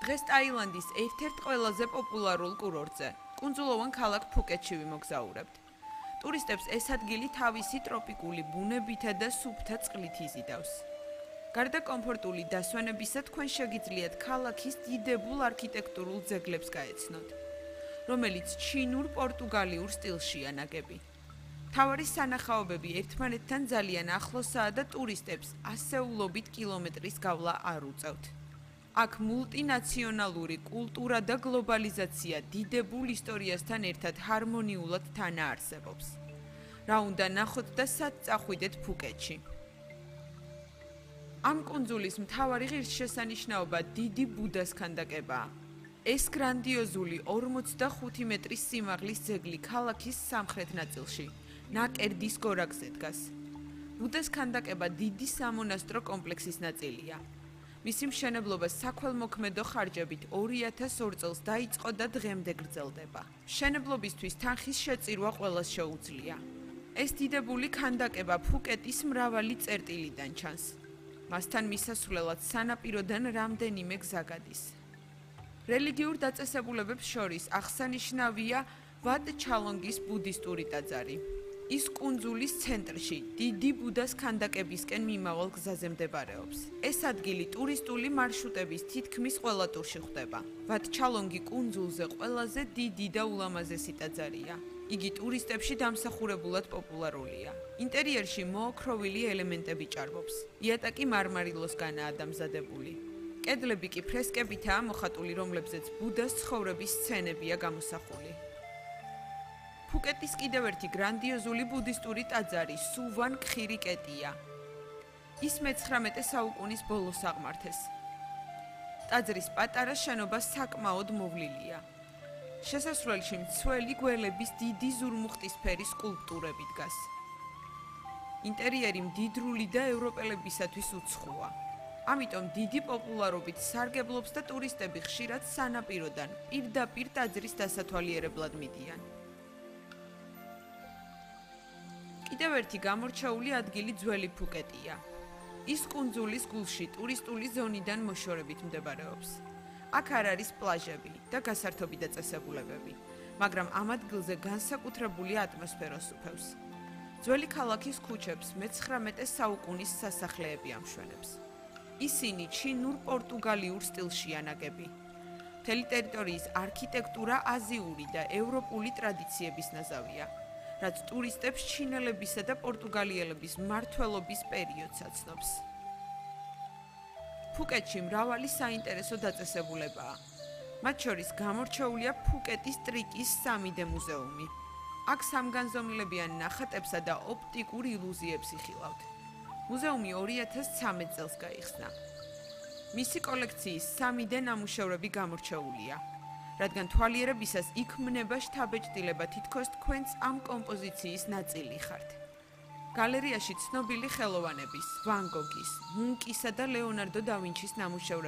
დღეს ტაილანდის ერთ-ერთ ყველაზე პოპულარულ კურორტზე, კუნძულოვან ქალაქ ფუკეტში ვიმოგზაურებთ. ტურისტებს ეს ადგილი თავისი ტროპიკული ბუნებითა და სუფთა წყლით იზიდავს. გარდა კომფორტული დასვენებისა, თქვენ შეგიძლიათ ქალაქის დიდებულ არქიტექტურულ ძეგლებს გაეცნოთ, რომელიც ჩინურ-პორტუგალიურ სტილშია ნაგები. მთავარი სანახაობები ერთმანეთთან ძალიან ახლოსაა და ტურისტებს ასეულობით კილომეტრის გავლა არ უწევთ. აქ მულტინაციონალური კულტურა და გლობალიზაცია დიდებულ ისტორიასთან ერთად ჰარმონიულად თანაარსებობს. რა უნდა ნახოთ და სად წახვიდეთ ფუკეტში? ამ კუნძულის მთავარი ღირსშესანიშნაობა დიდი ბუდას ქანდაკებაა. ეს გრანდიოზული 45 მეტრის სიმაღლის ძეგლი ქალაქის სამხრეთ ნაწილში, ნაკერდის გორაკზე დგას. ბუდას ქანდაკება დიდი სამონასტრო კომპლექსის ნაწილია. მისი მშენებლობა საქველმოქმედო ხარჯებით 2002 წელს დაიწყო და დღემდე გრძელდება. მშენებლობისთვის თანხის შეწირვა ყველას შეუძლია. ეს დიდებული ქანდაკება ფუკეტის მრავალი წერტილიდან ჩანს. მასთან მისასვლელად სანაპიროდან რამდენიმე გზა გადის. რელიგიურ დაწესებულებებს შორის აღსანიშნავია ვატ ჩალონგის ბუდისტური ტაძარი. ის კუნძულის ცენტრში, დიდი ბუდას ქანდაკებისკენ მიმავალ გზაზე მდებარეობს. ეს ადგილი ტურისტული მარშრუტების თითქმის ყველა ტურში ხვდება. ვატ ჩალონგი კუნძულზე ყველაზე დიდი და ულამაზესი ტაძარია. იგი ტურისტებში დამსახურებულად პოპულარულია. ინტერიერში მოოქროვილი ელემენტები ჭარბობს. იატაკი მარმარილოსგანაა დამზადებული. კედლები კი ფრესკებითაა მოხატული, რომლებზეც ბუდას ცხოვრების სცენებია გამოსახული. ფუკეტის კიდევ ერთი გრანდიოზული ბუდისტური ტაძარი სუვან ქხირიკეტია. ის მე-19 საუკუნის ბოლოს აღმართეს. ტაძრის პატარა შენობა საკმაოდ მოვლილია. შესასვლელში მცველი გველების დიდი ზურმუხტისფერი სკულპტურები დგას. ინტერიერი მდიდრული და ევროპელებისათვის უცხოა. ამიტომ დიდი პოპულარობით სარგებლობს და ტურისტები ხშირად სანაპიროდან პირდაპირ ტაძრის დასათვალიერებლად მიდიან. კიდევ ერთი გამორჩეული ადგილი ძველი ფუკეტია. ის კუნძულის გულში ტურისტული ზონიდან მოშორებით მდებარეობს. აქ არ არის პლაჟები და გასართობი დაწესებულებები, მაგრამ ამ ადგილზე განსაკუთრებული ატმოსფეროს უფევს. ძველი ქალაქის ქუჩებს მე-19 საუკუნის სასახლეები ამშვენებს. ისინი ჩინურ-პორტუგალიურ სტილშია ნაგები. მთელი ტერიტორიის არქიტექტურა აზიური და ევროპული ტრადიციების ნაზავია, რაც ტურისტებს ჩინელებისა და პორტუგალიელების მმართველობის პერიოდს აცნობს. ფუკეტში მრავალი საინტერესო დაწესებულებაა. მათ შორის გამორჩეულია ფუკეტის ტრიკის 3D მუზეუმი. აქ სამგანზომილებიან ნახატებსა და ოპტიკურ ილუზიებს იხილავთ. მუზეუმი 2013 წელს გაიხსნა. მისი კოლექციის 3D ნამუშევრები გამორჩეულია, რადგან თვალიერებისას იქ მნება შთაბეჭდილება თითქოს თქვენც ამ კომპოზიციის ნაწილი ხართ. გალერეაში ცნობილი ხელოვანების, ვან გოგის, მუნკისა და ლეონარდო და ვინჩის ნამუშევრები